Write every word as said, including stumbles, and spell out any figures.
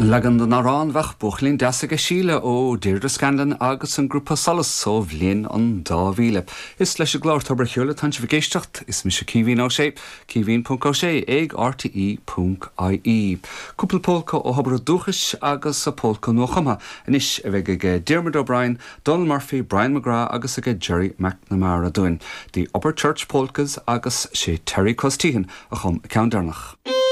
Leagan den amhrán Bheadh Buachaillín Deas aige Síle ó Deirdre Scanlon agus an grúpa Solas ó bhliain an dá mhíle. Is leis an gclár Tobar an Cheoil atá sibh ag éisteacht is mise Caoimhín Ó Sé, Caoimhín ponc Ó Sé ag R T E ponc I E. Cúpla polca ó thobar dúchais agus a polca nuachumtha anois a bheidh ag Diarmuid O'Brien, Donald Murphy, Brian McGrath agus ag Gerry McNamara dúinn. The Upper Church Polkas agus sé Terry Costigan a chum ceann deireanach.